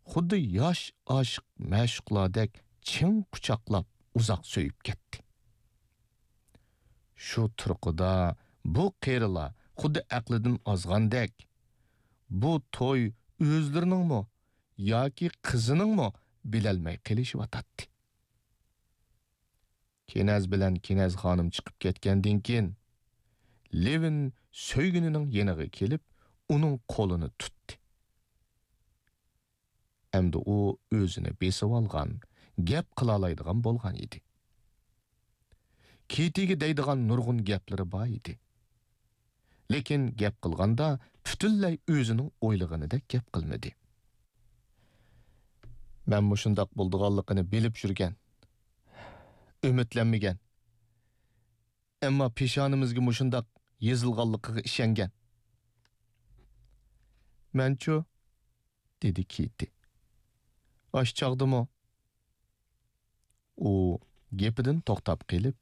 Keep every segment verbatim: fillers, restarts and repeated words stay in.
خۇددى ياش ئاشىق مەشۇقلاردەك چىڭ قۇچاقلاپ ئۇزاق سۆيۈپ كەتتى. شۇ تۇرقىدا بۇ قېرىلار خۇددى ئەقلىدىن ئازغاندەك، بۇ توي ئۆزلىرىنىڭمۇ ياكى قىزىنىڭمۇ بىلەلمەي قېلىشىۋاتاتتى. كېنەز بىلەن كېنەز خانىم چىقىپ كەتكەندىن كېيىن، لېۋىن سۆيگىنىنىڭ يېنىغا كېلىپ، ئۇنىڭ قولىنى تۇتتى. ئەمدى ئۇ ئۆزىنى بېسىۋالغان، گەپ قىلالايدىغان بولغان ئىدى. كېتىگە دەيدىغان نۇرغۇن گەپلىرى بار ئىدى. لېكىن گەپ قىلغاندا پۈتۈنلەي ئۆزىنىڭ ئويلىغىنىدەك گەپ قىلمىدى. مەن مۇشۇنداق بولىدىغانلىقىنى بىلىپ يۈرگەن، ئۈمىدلەنمىگەن. ئەمما پېشانىمىزگە مۇشۇنداق يېزىلغانلىقىغا ئىشەنگەن. مەنچۇ؟ دېدى كېتى. ئاشۇ چاغدىمۇ؟ ئۇ گېپىدىن توختاپ قېلىپ،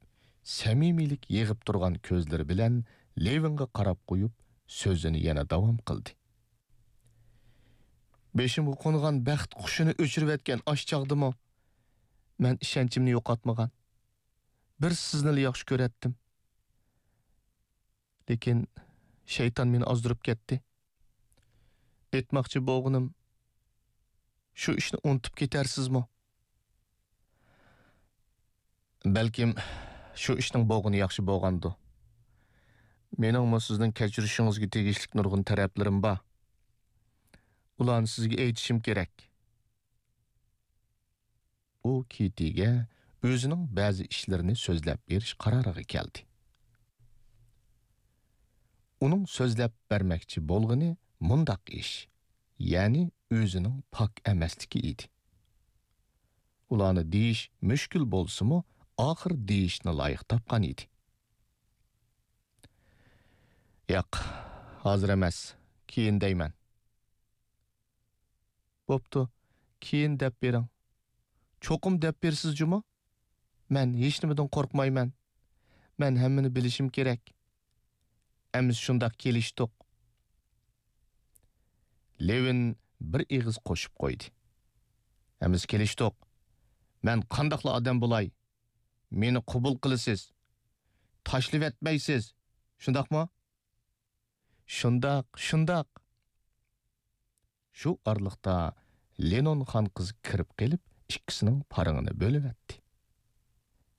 سەمىمىيلىك يېغىپ تۇرغان كۆزلىرى بىلەن لېۋىنغا قاراپ قويۇپ، سۆزىنى يەنە داۋام قىلدى. بېشىمغا قونغان بەخت قۇشىنى ئۆچۈرۈۋەتكەن ئاشۇ چاغدىمۇ مەن ئىشەنچىمنى يوقاتمىغان. بىر سىزنىلا ياخشى كۆرەتتىم. لېكىن شەيتان مېنى ئازدۇرۇپ كەتتى. ئېيتماقچى بولغىنىم، شۇ ئىشنى ئۇنتۇپ كېتەرسىزمۇ؟ بەلكىم شۇ ئىشنىڭ بولغىنى ياخشى بولغاندۇ. مېنىڭمۇ سىزنىڭ كەچۈرۈشىڭىزگە تېگىشلىك نۇرغۇن تەرەپلىرىم بار. ئۇلارنى سىزگە ئېيتىشىم كېرەك. ئۇ كېتىگە ئۆزىنىڭ بەزى ئىشلىرىنى سۆزلەپ بېرىش قارارىغا كەلدى. ئۇنىڭ سۆزلەپ بەرمەكچى بولغىنى مۇنداق ئىش، يەنى ئۆزىنىڭ پاك ئەمەسلىكى ئىدى. ئۇلارنى دېيىش مۈشكۈل بولسىمۇ، ئاخىر دېيىشنى لايىق تاپقان ئىدى. ياق، ھازىر ئەمەس، كېيىن دەيمەن. بوپتۇ، كېيىن دەپ بېرىڭ. چوقۇم دەپ بېرىسىز جۇمۇ؟ مەن ھېچنېمىدىن قورقمايمەن. مەن ھەممىنى بىلىشىم كېرەك. ئەمىسە شۇنداق كېلىشتۇق. لېۋىن بىر ئېغىز قوشۇپ قويدى. ئەمىسە كېلىشتۇق. مەن قانداقلا ئادەم بولاي؟ مېنى قوبۇل قىلىسىز. تاشلىۋەتمەيسىز. شۇنداقمۇ؟ شۇنداق، شۇنداق. شۇ ئارىلىقتا لېنون خان قىز كىرىپ قېلىپ، ئىككىسىنىڭ پارىڭىنى بۆلۈۋەتتى.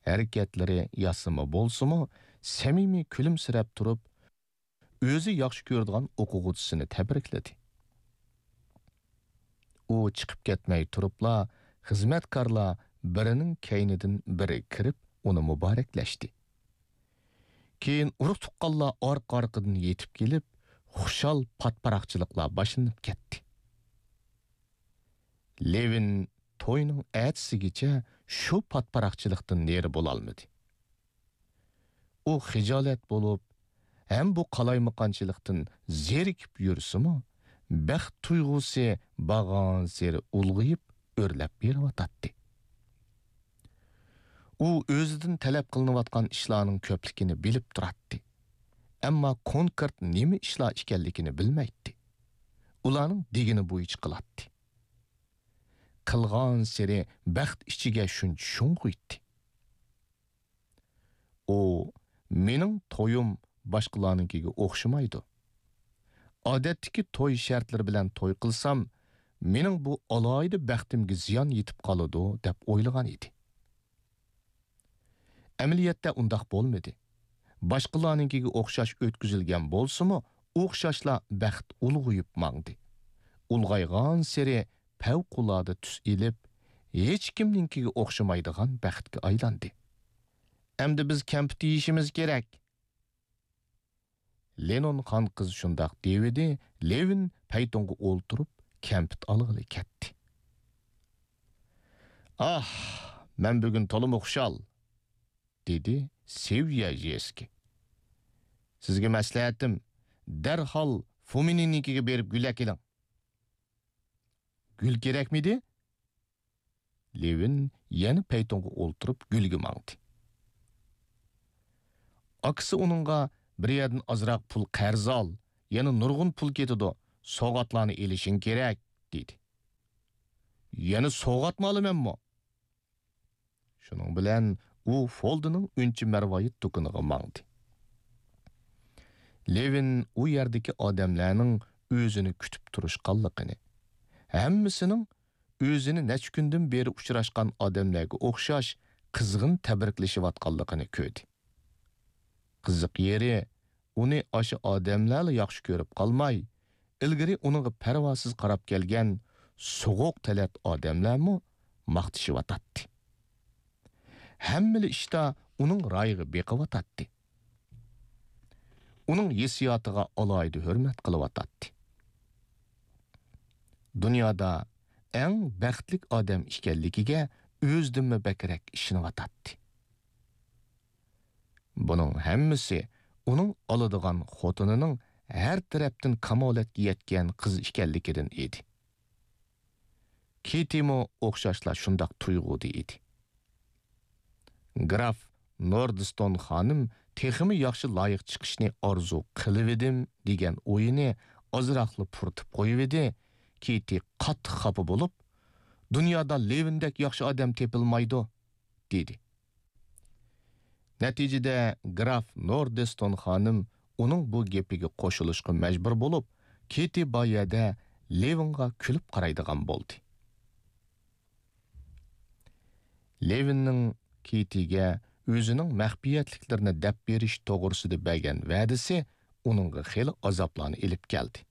ھەرىكەتلىرى ياسىما بولسىمۇ، سەمىمىي كۈلۈمسىرەپ تۇرۇپ، ئۆزى ياخشى كۆرىدىغان ئوقۇغۇچىسىنى تەبرىكلىدى. ئۇ چىقىپ كەتمەي تۇرۇپلا، خىزمەتكارلار بىرىنىڭ كەينىدىن بىرى كىرىپ، ئۇنى مۇبارەكلەشتى. كېيىن ئۇرۇق-تۇغقانلار ئارقا-ئارقىدىن يېتىپ كېلىپ، خۇشال پاتپاراقچىلىقلار باشلىنىپ كەتتى. لېۋىن توينىڭ ئەتىسىگىچە شۇ پاتپاراقچىلىقتىن نېرى بولالمىدى. ئۇ خىجالەت بولۇپ، ھەم بۇ قالايمىقانچىلىقتىن زېرىكىپ يۈرسىمۇ، بەخت تۇيغۇسى بارغانسېرى ئۇلغىيىپ، ئۆرلەپ بېرىۋاتاتتى. ئۇ ئۆزىدىن تەلەپ قىلىنىۋاتقان ئىشلارنىڭ كۆپلۈكىنى بىلىپ تۇراتتى. ئەمما كونكرېت نېمە ئىشلار ئىكەنلىكىنى بىلمەيتتى. ئۇلارنىڭ دېگىنى بويىچە قىلاتتى. قىلغانسېرى بەخت ئىچىگە شۇنچە شۇڭغۇيتتى. ئۇ، «مېنىڭ تويۇم باشقىلارنىڭكىگە ئوخشىمايدۇ. ئادەتتىكى توي شەرتلىرى بىلەن توي قىلسام، مېنىڭ بۇ ئالاھىدە بەختىمگە زىيان يېتىپ قالىدۇ» دەپ ئويلىغان ئىدى. ئەمەلىيەتتە ئۇنداق بولمىدى. باشقىلارنىڭكىگە ئوخشاش ئۆتكۈزۈلگەن بولسىمۇ، ئوخشاشلا بەخت ئۇلغىيىپ ماڭدى. ئۇلغايغانسېرى پەۋقۇلئاددە تۈس ئېلىپ، ھېچكىمنىڭكىگە ئوخشىمايدىغان بەختكە ئايلاندى. «ئەمدى بىز كەمپۈت يېيىشىمىز كېرەك.» لېنون خان قىز شۇنداق دېۋىدى، لېۋىن پەيتۇنغا ئولتۇرۇپ، كەمپۈت ئالغىلى كەتتى. «ئاھ، مەن بۈگۈن تولىمۇ خۇشال!» دېدى سېۋيەژېسكى. «سىزگە مەسلىھەتىم، دەرھال فۇمىننىڭكىگە بېرىپ گۈل ئەكېلىڭ.» «گۈل كېرەكمىدى؟» لېۋىن يەنە پەيتۇنغا ئولتۇرۇپ گۈلگە ماڭدى. ئاكىسى ئۇنىڭغا، «بىر يەردىن ئازراق پۇل قەرز ئال، يەنە نۇرغۇن پۇل كېتىدۇ، سوۋغاتلارنى ئېلىشىڭ كېرەك» دېدى. يەنە سوۋغاتمۇ ئالىمەنمۇ؟ شۇنىڭ بىلەن ئۇ فولدىنىڭ ئۈنچە مەرۋايىت دۇكىنىغا ماڭدى. لېۋىن ئۇ يەردىكى ئادەملەرنىڭ ئۆزىنى كۈتۈپ تۇرۇشقانلىقىنى، ھەممىسىنىڭ ئۆزىنى نەچچە كۈندىن بېرى ئۇچراشقان ئادەملەرگە ئوخشاش قىزغىن تەبرىكلىشىۋاتقانلىقىنى كۆردى. قىزىق يېرى، ئۇنى ئاشۇ ئادەملەرلا ياخشى كۆرۈپ قالماي، ئىلگىرى ئۇنىڭغا پەرۋاسىز قاراپ كەلگەن سوغۇق تەلەت ئادەملەرمۇ ماختىشىۋاتاتتى. ھەممىلا ئىشتا ئۇنىڭ رايىغا بېقىۋاتاتتى. ئۇنىڭ ھېسسىياتىغا ئالاھىدە ھۆرمەت قىلىۋاتاتتى. دۇنيادا ئەڭ بەختلىك ئادەم ئىكەنلىكىگە ئۆزىدىنمۇ بەكرەك ئىشىنىۋاتاتتى. بۇنىڭ ھەممىسى ئۇنىڭ ئالىدىغان خوتۇنىنىڭ ھەر تەرەپتىن كامالەتكە يەتكەن قىز ئىكەنلىكىدىن ئىدى. كېتىمۇ ئوخشاشلا شۇنداق تۇيغۇدا ئىدى. گراف نوردستون خانىم تېخىمۇ ياخشى لايىق چىقىشنى ئارزۇ قىلىۋىدىم دېگەن ئويىنى ئازراقلا پۇرىتىپ قويۇۋىدى. كېتى قاتتىق خاپا بولۇپ، «دۇنيادا لېۋىندەك ياخشى ئادەم تېپىلمايدۇ» دېدى. نەتىجىدە گراف نوردستون خانىم ئۇنىڭ بۇ گېپىگە قوشۇلۇشقا مەجبۇر بولۇپ، كېتى بار يەردە لېۋىنغا كۈلۈپ قارايدىغان بولدى. لېۋىننىڭ كېتىگە ئۆزىنىڭ مەخپىيەتلىكلىرىنى دەپ بېرىش توغرىسىدا بەرگەن ۋەدىسى ئۇنىڭغا خېلى ئازابلارنى ئېلىپ كەلدى.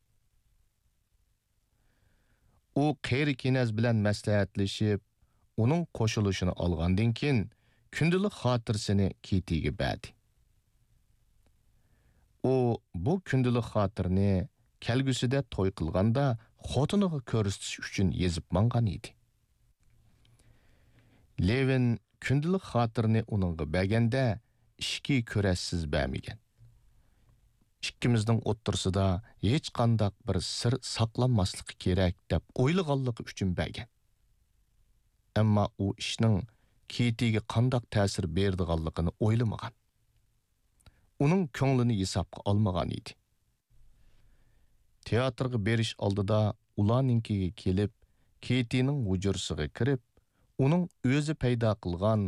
ئۇ قېرى كېنەز بىلەن مەسلىھەتلىشىپ، ئۇنىڭ قوشۇلۇشىنى ئالغاندىن كېيىن، كۈندىلىك خاتىرىسىنى كېتىگە بەردى. ئۇ بۇ كۈندىلىك خاتىرىنى كەلگۈسىدە توي قىلغاندا خوتۇنىغا كۆرسىتىش ئۈچۈن يېزىپ ماڭغان ئىدى. لېۋىن كۈندىلىك خاتىرىنى ئۇنىڭغا بەرگەندە، ئىچكى كۈرەشسىز بەرمىگەن. ئىككىمىزنىڭ ئوتتۇرىسىدا ھېچقانداق بىر سىر ساقلانماسلىقى كېرەك دەپ ئويلىغانلىقى ئۈچۈن بەرگەن. ئەمما ئۇ ئىشنىڭ كېتىگە قانداق تەسىر بېرىدىغانلىقىنى ئويلىمىغان. ئۇنىڭ كۆڭلىنى ھېسابقا ئالمىغان ئىدى. تىياتىرغا بېرىش ئالدىدا ئۇلارنىڭكىگە كېلىپ، كېتىنىڭ ھۇجرىسىغا كىرىپ، ئۇنىڭ ئۆزى پەيدا قىلغان،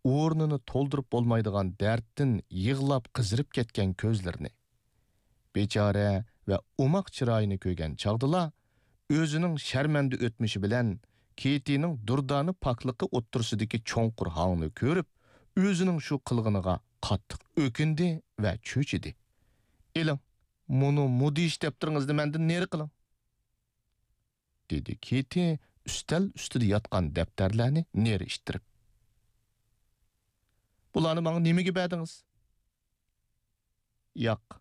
ئورنىنى تولدۇرۇپ بولمايدىغان دەردتىن يىغلاپ قىزىرىپ كەتكەن كۆزلىرىنى، بىچارە ۋە ئوماق چىرايىنى كۆرگەن چاغدىلا، ئۆزىنىڭ شەرمەندە ئۆتمۈشى بىلەن كېتىنىڭ دۇردانە پاكلىقى ئوتتۇرىسىدىكى چوڭقۇر ھاڭنى كۆرۈپ، ئۆزىنىڭ شۇ قىلغىنىغا قاتتىق ئۆكۈندى ۋە چۆچۈدى. «ئېلىڭ، مۇنۇ مۇدھىش دەپتىرىڭىزنى مەندىن نېرى قىلىڭ!» دېدى كېتى ئۈستەل ئۈستىدە ياتقان دەپتەرلەرنى نېرى ئىتتىرىپ. «بۇلارنى ماڭا نېمىگە بەردىڭىز؟» «ياق،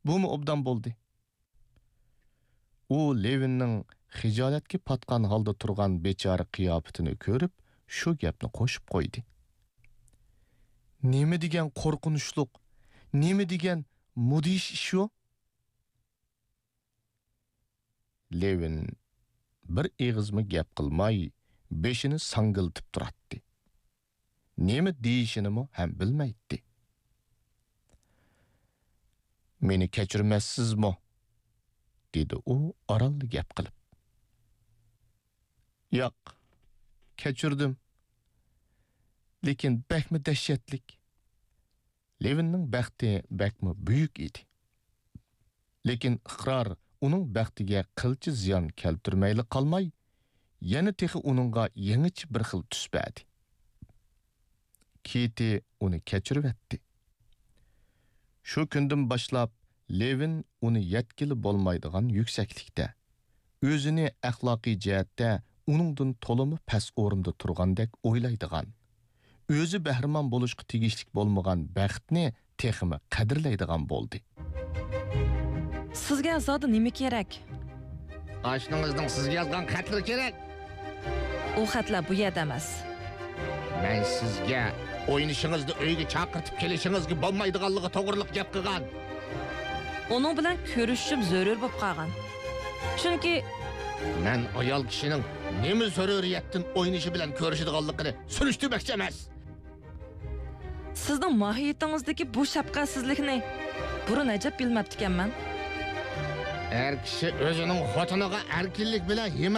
بۇمۇ ئوبدان بولدى.» ئۇ لېۋىننىڭ خىجالەتكە پاتقان ھالدا تۇرغان بىچارە قىياپىتىنى كۆرۈپ، شۇ گەپنى قوشۇپ قويدى. «نېمە دېگەن قورقۇنچلۇق، نېمە دېگەن مۇدھىش ئىش ئۇ!» لېۋىن بىر ئېغىزمۇ گەپ قىلماي، بېشىنى ساڭگىلىتىپ تۇراتتى. نېمە دېيىشىنىمۇ ھەم بىلمەيتتى. «مېنى كەچۈرمەسسىزمۇ؟» دېدى ئۇ ئارانلا گەپ قىلىپ. «ياق، كەچۈردۈم. لېكىن بەكمۇ دەھشەتلىك.» لېۋىننىڭ بەختى بەكمۇ بۈيۈك ئىدى. لېكىن ئىقرار ئۇنىڭ بەختىگە قىلچە زىيان كەلتۈرمەيلا قالماي، يەنە تېخى ئۇنىڭغا يېڭىچە بىر خىل تۈس بەردى. كېتى ئۇنى كەچۈرۈۋەتتى. شۇ كۈندىن باشلاپ لېۋىن ئۇنى يەتكىلى بولمايدىغان يۈكسەكلىكتە، ئۆزىنى ئەخلاقىي جەھەتتە ئۇنىڭدىن تولىمۇ پەس ئورۇندا تۇرغاندەك ئويلايدىغان، ئۆزى بەھرىمەن بولۇشقا تېگىشلىك بولمىغان بەختنى تېخىمۇ قەدىرلەيدىغان بولدى. سىزگە زادى نېمە كېرەك؟ ئاشنىڭىزنىڭ سىزگە يازغان خەتلىرى كېرەك. ئۇ خەتلەر بۇ يەردە ئەمەس. مەن سىزگە ئوينىشىڭىزنى ئۆيگە چاقىرتىپ كېلىشىڭىزگە بولمايدىغانلىقى توغرىلىق گەپ قىلغان. ئۇنىڭ بىلەن كۆرۈشۈشۈم زۆرۈر بولۇپ قالغان. چۈنكى مەن ئايال كىشىنىڭ نېمە زۆرۈرىيەتتىن ئوينىشى بىلەن كۆرۈشىدىغانلىقىنى سۈرۈشتۈرمەكچى ئەمەس. سىزنىڭ ماھىيىتىڭىزدىكى بۇ شەپقەتسىزلىكنى بۇرۇن ئەجەب بىلمەپتىكەنمەن. ئەر كىشى ئۆزىنىڭ خوتۇنىغا ئەركىنلىك بىلەن ھىمايە